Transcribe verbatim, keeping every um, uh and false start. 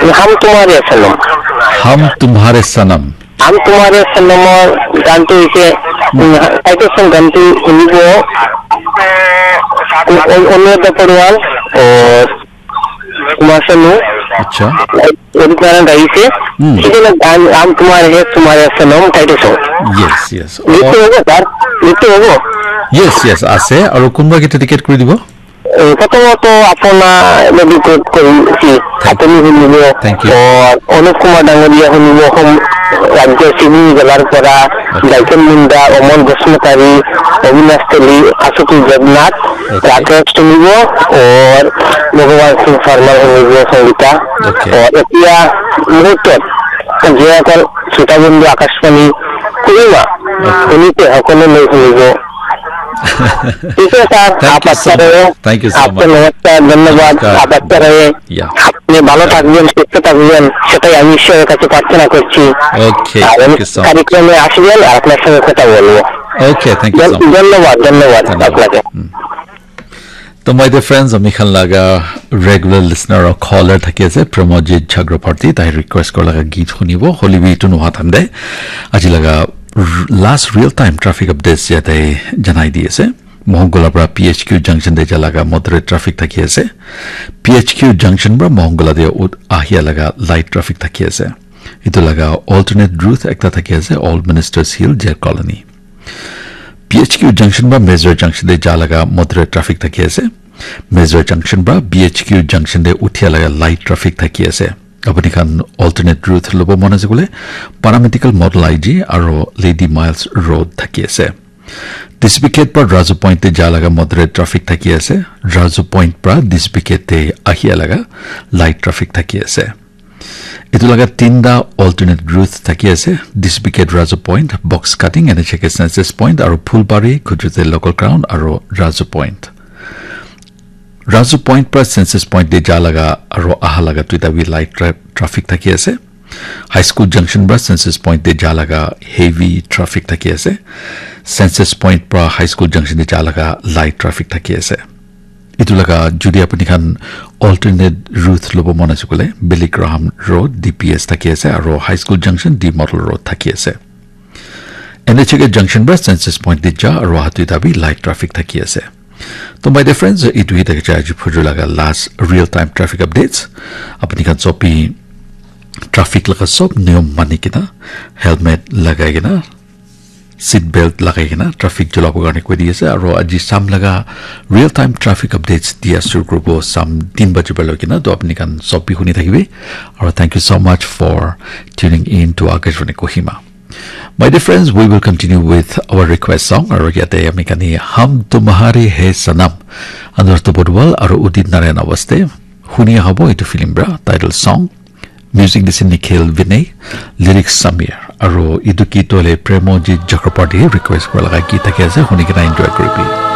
Hum Tumhare Sanam. Hum Tumhare Sanam. Hum Tumhare Sanam or gan tu ise, title song gan tu hunibo. Anuradha Pawar or Kumar Sanu. Acha. Ori Narayan gaise. Hmm. Ise na gan Hum Tumhare Hai Tumhare Sanam title song. Yes, yes. Nitya hobo, sir? Nitya hobo? Yes, yes, ase. Aru kunba ke dedicate kuri dibo? Eh, prothomot apuna dedicate korichi, apuni hunibo. Thank you. Aur Anup Kumar Dangoria hunibo, hum, Rajya Singh Jalar Pora, okay. Dalton Munda, Omol Basumatary, Avinash Teli, Ashutosh Jagnath, okay. Rakesh hunibo, aur Bhagwan Singh Sharma hunibo, Sangita. Okay. Aur etia muhurtot, je akon Shuta Bindhu Akashvani Kohima, okay. Hunite hokole loi hunibo. ठीक है सर, आप अच्छा रहे। Thank you so much. आपको नमस्कार, धन्यवाद। नमस्कार। आप अच्छा रहे। Yeah. আপনি ভালো থাকবেন, সুস্থ থাকবেন, সেটাই আমি ঈশ্বরের কাছে প্রার্থনা করছি। Okay, আর thank you so much. কার্যক্রমে আসবেন আর আপনার সঙ্গে কথা বলবো। Okay, thank you so much. ধন্যবাদ, ধন্যবাদ আপনাকে। To my dear friends, ami khan laga regular listener aru caller thaki ase, Pramojit Chakraborty, tai request kora laga geet hunibo, hoile bi etu noha time te aji laga r-, last real time traffic updates yate janai di ase. Mohongkola pra P H Q junction te ja laga moderate traffic thaki ase. P H Q junction pra Mohongkola te ut-, ahia laga light traffic thaki ase. Etu laga alternate route ekta thaki ase, Old Ministers Hill, Jail Colony. P H Q junction pra Mezra junction te ja laga moderate traffic thaki ase. Mezra junction pra B H Q junction te uthia laga light traffic thaki ase. Apuni khan alternate route lobo mon ase koile, Paramedical Model I G aro Lady Miles Road thaki ase. Dispicate pra Razu Point te ja laga moderate traffic thaki ase. Razu Point pra Dispicate te ahia laga light traffic thaki ase. Etu laga tinta alternate route thaki ase, Dispicate Razu Point, Box Cutting, N H K Census Point, aro Phulbari, Khujute Local Ground, aro Razu Point. Razu Point pra Census Point te ja laga aro aha laga tuita bi light tra-, traffic thaki ase. High School Junction pra Census Point te ja laga heavy traffic thaki ase. Census Point pra High School Junction te ja laga light traffic thaki ase. Etu laga jodi apuni khan alternate route lobo mon ase koile, Billy Graham Road, D P S thaki ase, aro High School Junction, D Model Road thaki ase. N H K Junction pra Census Point te ja, aro aha tuita bi light traffic thaki ase. To my dear friends, etu hi thaki jai aji phujur laga last real time traffic updates. Apuni khan sob bi traffic laga sob niyom mani kena, helmet lagai kena, seat belt lagai kena traffic cholabo karne koi di ase, aro aji sam laga real time traffic updates dia shuru kuribo sam tin baji par loi kena, to apni khan sob bi huni thakibi, aro thank you so much for tuning in to Akashvani Kohima. My dear friends, we will continue with our request song, aro yate ami khan hi Hum Tumhare Hai Sanam, Anuradha Pawar aro Udit Narayan awaz te huni ahabo etu film pra title song. Music dise Nikhil Vinay, lyrics Samir, aro etu geet tu hoile Premojit Chakraborty request kura laga geet thaki ase, huni kena enjoy kuribi.